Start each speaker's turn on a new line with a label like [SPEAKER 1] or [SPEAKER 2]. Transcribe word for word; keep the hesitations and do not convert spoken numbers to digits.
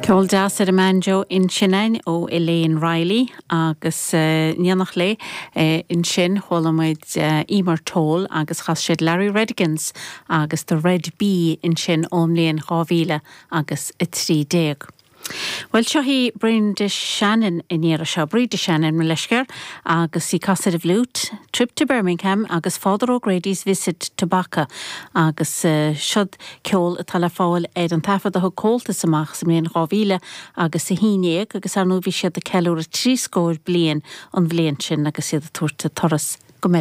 [SPEAKER 1] Ceol deas ar an mbanjo ansin againn ó Elaine Riley agus uh, in éineacht léi uh, ansin chuala muid uh, Emer Toal agus chas siad Larry Redigans agus the Red Bee ansin ón mbliain dhá mhíle agus a trí déag. Well seo í Brenda Shannon in iar seo Breda Shannon me leiscer agus í ag casadh an fhliúit, Trip to Birmingham agus Father O'Grady's Visit to Bacca agus uh, siod ceol atá le fáil ar an taifead a thug Comhaltas amach sa mbliain dhá mhíle agus a haon déag agus ar ndóigh bhí siad ag ceiliúradh trí scór bliain an bhliain sin agus iad ag tabhairt turas